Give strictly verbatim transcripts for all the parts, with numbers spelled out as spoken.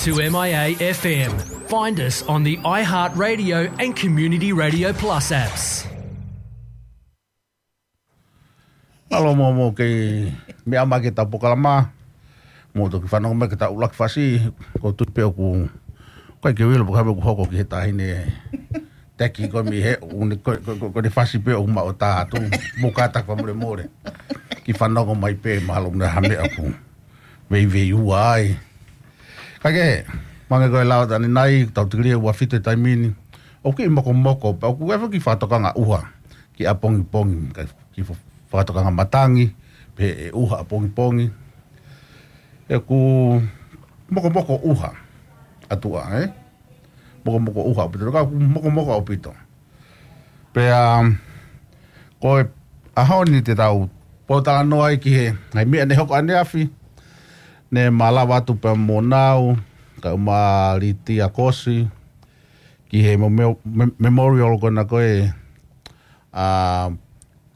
To M I A F M. Find us on the iHeartRadio and Community Radio Plus apps. Mālō mo, mo ke meʻa mai ki heʻetau polokalama. Mou toki fanongo mai ki heʻetau ʻuluaki fasi, ko e tui pē ʻoku, ʻikai ke u ʻilo pe ko e hā ʻoku hoko ki he taʻahine teki ko ē mei he, ʻoku ne, ko, ko, ko, ko ʻene fasi pē ʻoku maʻu ʻo tā atu. Mou kātaki fakamolemole. Kiʻi fanongo mai pē, mahalo ʻoku ʻi ai ha meʻa ʻoku veiveiua ai. Kae kehe, hangē ko e lau atu ʻanenai, tau tikilī ʻe ua fitu he taimi ni. ʻOku kiʻi mokomoko, pea ʻoku ʻi ai foki e kiʻi fakatokanga ʻuha ki ʻapongipongi, kae kiʻi fa-, fakatokanga matangi, pehē ʻe ʻuha ʻapongipongi. ʻOku mokomoko ʻuha ʻa tuʻa, ē? Mokomoko ʻuha ʻaupito, ka ʻoku mokomoko ʻaupito. Pea, ko e ʻaho ni te tau pōtalanoa ai ki he ngaahi meʻa ne hoko ʻaneafi, ne ma lava atu pea mo Nau, kae ʻumaʻā Litia Kosi, ki he mo-, me-, me-, memorial ko ena ko ē, ʻa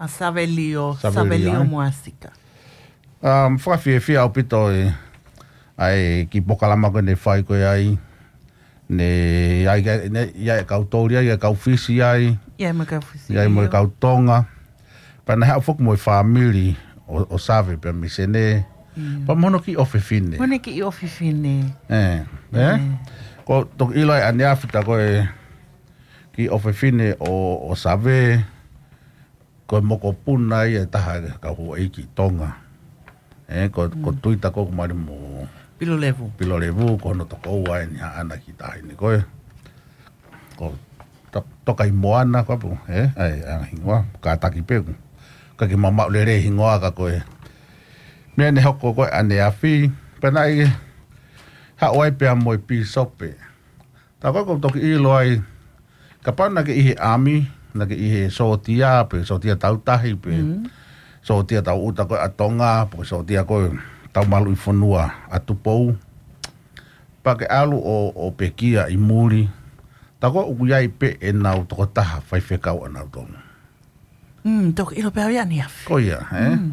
ʻa Savelio, Savelio, Savelio ē? Moasika. Um, fakafiefia ʻaupito e, ʻa e kiʻi polokalama ko ē ne fai ko ē ai. Ne, ʻi ai, ne, ʻi ai e kau Toli ai, ʻi ai e kau Fisi ai. ʻI ai mo e kau Fisi, ʻi ai mo e ʻio. Kau Tonga. Pea naʻe haʻu foki mo e fāmili ʻo, ʻo Save pea mei Senē. ʻIo. Pea mo hono kiʻi ʻofefine. Mo hono kiʻi ʻofefine. Ē, ē? Ē. Ko e toki ʻilo ai ʻaneafi tā ko e kiʻi ʻofefine ʻo, ʻo Save. Ko e mokopuna ia ʻe taha e kau houʻeiki Tonga. Ē, ko, ko Mm. Tuita ko ē ʻoku mali mo Pilolevu. Pilolevu, ko hono tokoua eni haʻana kiʻi taʻahine ko ē. Ko To-, Tokaimoana ko ē pē, ē? ʻA e, ʻa e hingoa, kātaki pē ʻoku ʻikai ke ma maʻu lelei e hingoa ka ko e meʻa ne hoko ko ē ʻaneafi, pea naʻe haʻu ai pea mo e pīsope. Tā ko ē ʻoku ou toki ʻilo ai, kapau naʻa ke ʻi he ʻami, naʻa ke ʻi he sōtia, pe sōtia tautahi, pe Mm. sōtia tauʻuta ko ē ʻa Tonga, pe sōtia ko ē tau maluʻi fonua ʻa Tupou. Pea ke ʻalu ʻo, ʻo pekia ʻi muli. Tā ko ē ʻoku ʻi ai pē ʻenau tokotaha faifekau ʻanautolu. Mm, toki ʻilo pē au ia ʻaneafi. Ko ia, ē? Mm.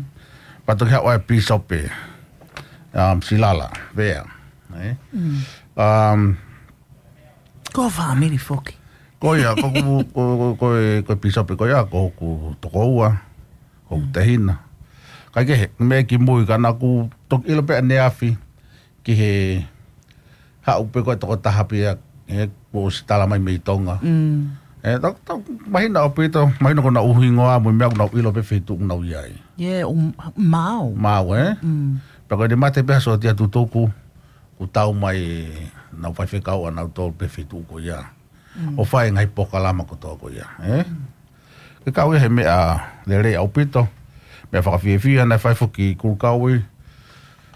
Pea toki haʻu ai e pīsope, um, Silala, Vea, ē? Mm. Um, Ko e fāmili foki. Ko ia, ko, ko, ko, ko, ko e, ko e pīsope ko ia, ko hoku tokoua, ko hoku Mm. tehina. Kae kehe, meʻa kimui ka naʻa ku toki ʻilo pē ʻaneafi, ki he haʻu pē ko e tokotaha pē ia, ē, kuo ʻosi tala mai mei Tonga. Mm. Ē, tau, tau, mahino ʻaupito, mahino ko honau hingoa, mo e meʻa ʻoku nau ʻilo pē feituʻu ʻoku nau ʻi ai. Yeah, um, maau. Maau, ē? Mm. Pea ko ʻene mate pē ha sōtia tutuku, kuo tau mai ʻenau faifekau ʻanautolu pē feituʻu ko ia. Mm. ʻO fai e ngaahi polokalama kotoa ko ia, ē? Mm. Ke kau ia he meʻa lelei ʻaupito, meʻa fakafiefia, naʻe fai foki e kulukaui,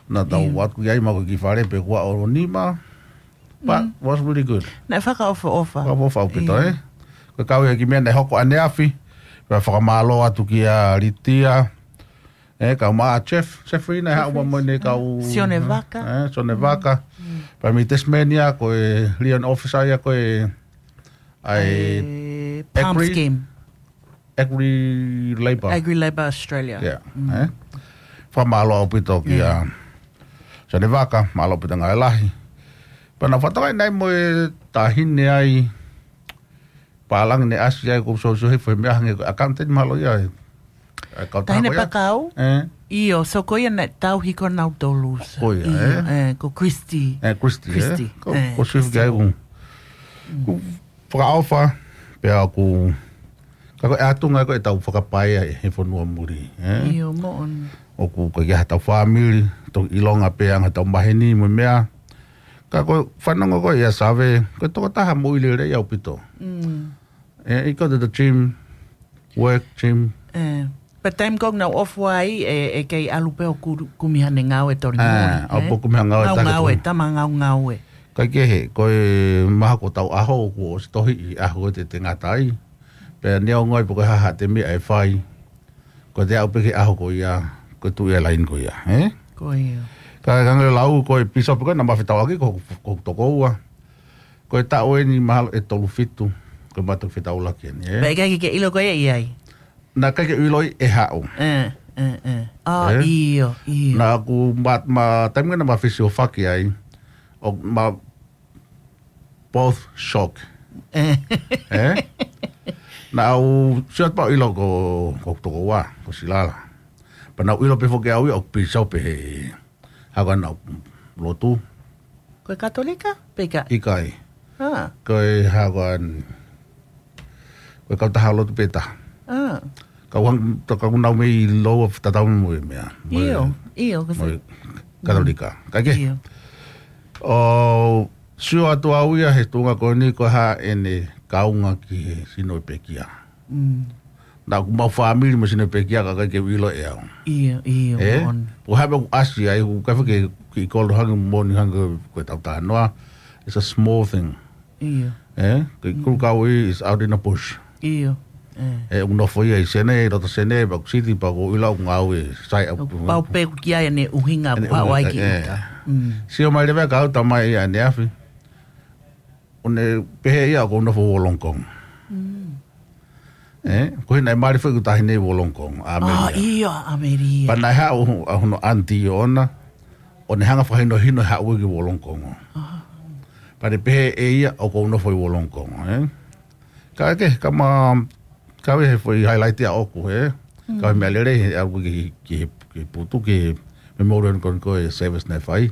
naʻa tau Mm. ʻalu ki ai ma ko e kiʻi fale pē kuo ʻaho nima, but Mm. was really good. Naʻe fakaʻofoʻofa. Fakaʻofoʻofa ʻaupito, Yeah. ē? Ke kau ia he kiʻi meʻa naʻe hoko ʻaneafi, pea fakamālō atu kia Litia, ē, kae ʻumaʻā Jeff, Jeffrey naʻe haʻu Jeffrey. mo ʻene kau Sione Vaka. Ē, Sione Mm. Vaka. Mm. Pea mei Tasmania, ko e Leon Officer ia ko ē ʻa e ʻA e PALM Agri, Scheme. Agri Labour. Agri Labour Australia. Yeah, Mm. ē. Fakamālō ʻaupito kia Yeah. Sione Vaka, mālō ʻaupito ngaahi lahi. Pea naʻa ku fakatokangaʻi naʻe ʻi ai mo e taʻahine ai, pālangi ne ʻasi ai ko e sōsō he fai meʻa hangē ko e accountant mahalo ia ē. ʻA e kau Taʻahine taha ko ia. Pakau? Ē. ʻIo, so ko ia naʻe tauhi ko nautolu. Ko ia, Io, ē. ē, ko Christy. Ē, Christy, ē. Christy. Ko, Ē, ko Swift Christy. Kia ʻoku, Mm. ʻoku fakaʻofa, pea ʻoku, ka ko e ʻatunga ko ē ʻetau fakapaea he fonua muli, ē. ʻIo, moʻoni. ʻOku ʻikai ke ʻi ai haʻatau fāmili, toki ʻilonga pē ʻa e anga ʻetau maheni mo e meʻa. Ka ko e fanongo ko ē ʻia Save, ko e tokotaha moʻui lelei ʻaupito. Mm. Ē, he ko e gym, work, gym. Ē, pea taimi ko ē ʻoku nau off ai, ē, ʻe kei ʻalu pē ʻo ku-, kumi haʻane ngāue toli muli, ē, ʻo ē? ʻo kumi haʻane ngāue Ngāue, taha ngāue, kumi. tama ngāue. Kae kehe, ko e mahalo ko hotau ʻaho, kuo ʻosi tohiʻi e ʻaho ʻe te, te ngata ai. Pea neongo ai pe ko e hā haʻate meʻa ʻe fai. Ko ʻete aʻu pē ki he ʻaho ko ia, ko e tuʻu ia laini ko ia, ē? Ko ia. Ka, ka ngali lau, ko e pīsope ko ē naʻa ma fetauʻaki, ko, ko hoku tokoua. Ko e taʻu eni mahalo ʻe tolu fitu, ko e ma toki fetaulaki eni, ē? Pea ʻikai ke ke ʻilo ko ia ʻi ai? Naʻe ʻikai ke u ʻilo ʻe haʻu. Ē, ē, ē. ʻA, Ē? ʻio, ʻio. Naʻa ku ma, ma, taimi naʻa ma fesiofaki ai, ʻo ma both shock. Eh. Eh? Naʻá ku sio atu pea u ʻilo ko, ko tokoua, ko Silala. Pea naʻá ku ʻilo pē foki au ia ʻoku pīsope he hako ʻena lotu. Ko e Katolika? Pe ʻikai? ʻIkai. Ah. Ko e hako ʻena, ko e kautaha lotu pē taha. Ah. Kau hang, to kau nau mei loa tatau mo e meʻa. Mo e, ʻIo, ʻio, ko mo e se. Katolika. Ka ke? ʻIo. ʻO sio atu au ia he tuʻunga ko eni ko e hā ʻene kaunga ki he sino pekia. Mm. Naʻá ku maʻu fāmili mo e sino pekia ka ʻikai ke u ʻilo ʻe au. ʻIo, ʻio, Eh? moʻoni. Ko e hā pē ʻoku ʻasi ai, ʻoku ʻikai ke, ke kolo hangē moʻoni hangē ko e tau talanoa. It's a small thing. ʻIo. Eh? Ko e Mm. Kulukaui is out in the bush. ʻIo. Eh. Eh, ʻoku nofo ia ʻi Senē, loto Senē, pea ʻoku siti, pea ʻoku ʻilo ʻoku ngāue, sai ʻOku pau pē ʻoku ʻi ai ʻene ʻuhinga ʻEne ʻoku haʻu ai ʻuhinga, ki eh. ʻuta. Mm. Sio mai leva ka au tamai ia ʻaneafi. ʻO ne pehē ia ʻoku ou nofo Wollongong. Mm. Eh? Ko e hā naʻe mali foki ʻeku taʻahine ʻi Wollongong, ʻa Ah, Amelia. ʻIo, ʻa Amelia. Pea naʻe haʻu ʻa hono ʻanti ʻoʻona, ʻo ne hanga fakahinohino haʻu ki Wollongong. Ah. Pea ne pehē ʻe ia ʻoku ou nofo ʻi Wollongong, eh? Ka ke, ka ma, ka ʻi he foʻi highlight ia ʻoku, eh? Ka ʻi he Mm. meʻa lelei, he ʻalu ki, ki, ki Putu, ki he memorial ko, ko e service naʻe fai.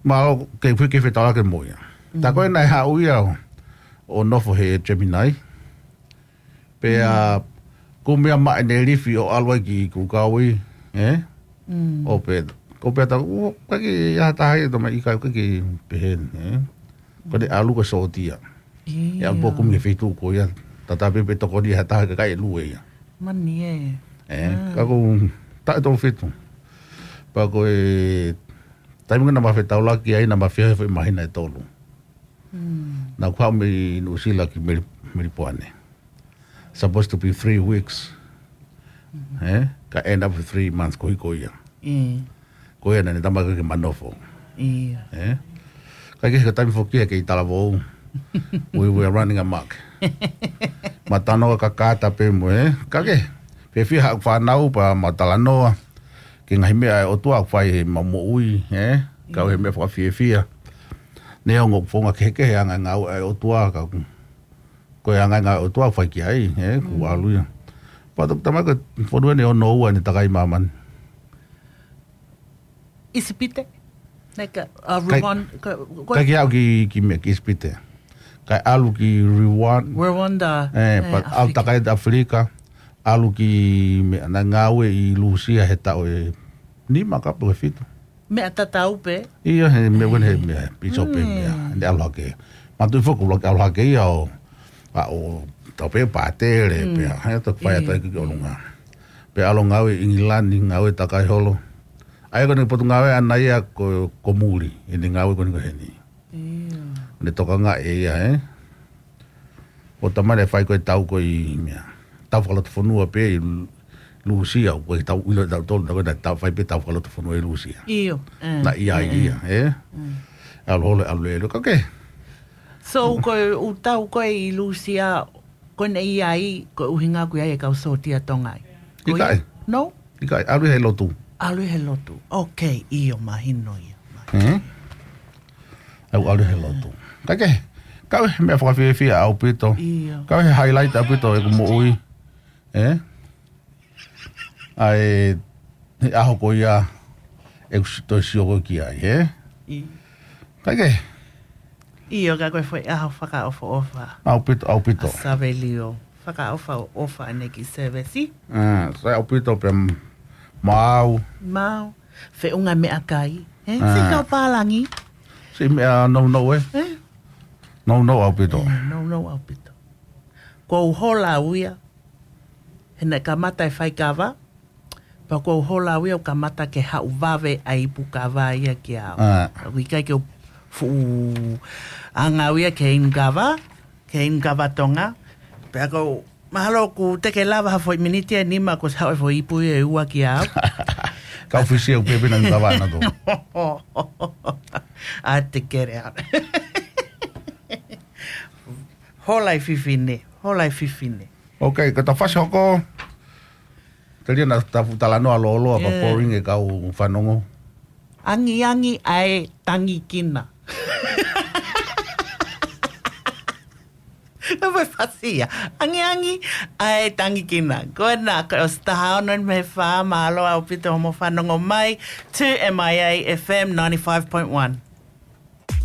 Mahalo ke fui ke fetaulaki mo ia. Tā Mm. ko ē naʻe haʻu ia ʻo, ʻo nofo he Gemini. Pea Mm. kumi ia maʻa ʻene lifi ʻo ʻalu ai ki Kulukaui, eh? Mm. ʻO pē, ko pē ta, ʻo, ʻikai ke ʻi ai ha taha ia tamai ʻikai ke pehē, eh? Ko ʻene ʻalu ko e sōtia. ʻIo. ʻE ʻalu pē ʻo kumi he feituʻu ko ia. Tatau pē pe tokoni ha taha ka ʻikai ke lue ia. Mani ē. Eh, Ah. ka ko taʻe tolu fitu. Pea ko e taimi ko ē naʻá ma fetaulaki ai naʻá ma fie he foʻi māhina ʻe tolu. Mm. Naʻá ku haʻu mei Nuʻusila ki Meli-, Melipoane. Supposed to be three weeks. Mm. Eh? Ka end up with three months ko ē ko ia. Mm. Ko ia naʻá ne tama ke ma nofo. ʻIo. Eh? Ka ke he taimi foki ia kei talavou. We were running amok. Ma talanoa ka kata pē mo, eh? Ka ke, fiefia haʻaku fānau pea ma talanoa ki he ngaahi meʻa ʻa e ʻOtua ʻoku fai heʻema moʻui, eh? Ka ʻi he meʻa fakafiefia. Neongo ʻoku founga kehekehe ʻa e ngaahi ngāue ʻa e ʻOtua ka ʻoku, ko e ngaahi ngāue ʻa e ʻOtua ʻoku fai ki ai, eh? ʻOku Mm. ʻalu ia. Pea toki tamai ko e fonu eni ʻo noua ʻene takai māmani. ʻIsipite? Naʻe ʻikai, uh, Kai, Rwanda, ka, ko ʻikai ke aʻu ki, ki meʻa ki ʻIsipite. Kae ʻalu ki Rwanda. Rwanda. Eh, Eh, pea ʻalu ʻAfilika. takai ʻi ʻAfilika. ʻAlu ki meʻa naʻe ngāue ʻi Lūsia he taʻu ʻe nima ka pe ʻe fitu. Meʻa tatau pē? ʻIo, he meʻa ko ē he Eh. meʻa, pīsope Mm. meʻa. Ne ʻalu hake. Mātuʻaki foki ʻuluaki ʻalu hake ia ʻo, ʻa ʻo, tau pē pātele, Mm. pea, he toki fai atu ʻIo. ai ki ʻolunga. Pea ʻalu ngāue ʻi ʻIngilani, ngāue takai holo. ʻA ia ko ʻene potungāue ʻaʻana ia ko, ko muli, ʻene ngāue ko eni ko heni. ʻIo. Ne tokangaʻi ʻe ia, eh? ʻO tamai naʻe fai ko e tau ko ē meʻa. Tau fakalotofonua pē ʻi Lu-, Lūsia, ʻoku ʻikai ke tau ʻilo ʻe tautolu, tā ko ē naʻe tau fai pē tau fakalotofonua ʻi Lūsia. ʻIo, eh, Naʻe ʻi ai eh, eh. ia, eh? Mm. ʻAlu holo, ʻalu lele, ka ke. So, ko e ʻū tau ko ē ʻi Lūsia, ko ʻene ʻi ai, ko e ʻuhinga ʻoku ʻi ai e kau sōtia Tonga ai. Ko ia? ʻIkai. No? ʻIkai, ʻalu he lotu. ʻAlu he lotu. Ok, ʻio, mahino ia. Hmm? ʻAlu, ʻalu he lotu. Ka ke, ka ʻi he meʻa fakafiefia ʻaupito. ʻIo. Ka ʻi he highlight ʻaupito ʻeku moʻui. Eh? ʻA e, he ʻaho ko ia, ʻeku si-, toe sio ko ē ki ai, eh? ʻIo. Ka ke? ʻIo, ka ko e foʻi ʻaho fakaʻofoʻofa. ʻAupito, ʻaupito. ʻA Savelio. Fakaʻofoʻofa ʻene kiʻi service. Ah, sai ʻaupito pē m-, maau. Maau. Feʻunga meʻakai. Eh? Ah. Siʻi kau pālangi. Siʻi meʻa nounou, eh? Eh? Nounou ʻaupito. Eh, nounou ʻaupito. Ko u hola au ia. He naʻe kamata e faikava. Pea ko u hola au ia ʻo kamata ke haʻu vave ʻa e ipu kava ia kia au. Ah. ʻOku ʻikai ke u fuʻu anga au ia ke inu kava, ke inu kava Tonga. Pea ko u mahalo ʻoku te ke lava ha foʻi miniti ʻe nima kuo ʻosi haʻu e foʻi ipu ʻe ua kia au. Kau fisi au pē pē naʻá ku kava ʻana tō. ʻA te kere au. Hola e fefine, hola e fefine. Ok, ka ta fasi hoko. Telia naʻa ta fuʻu talanoa lōloa, ka Eh. boring e kau fanongo. Angiangi ʻa e tangikina. Ko e fasi ia. Angiangi, ʻai tangi kina. Ko ena, ko e ʻosi taha ono mei he fā, mālō ʻaupito hoʻomo fanongo mai to M I A F M ninety-five point one.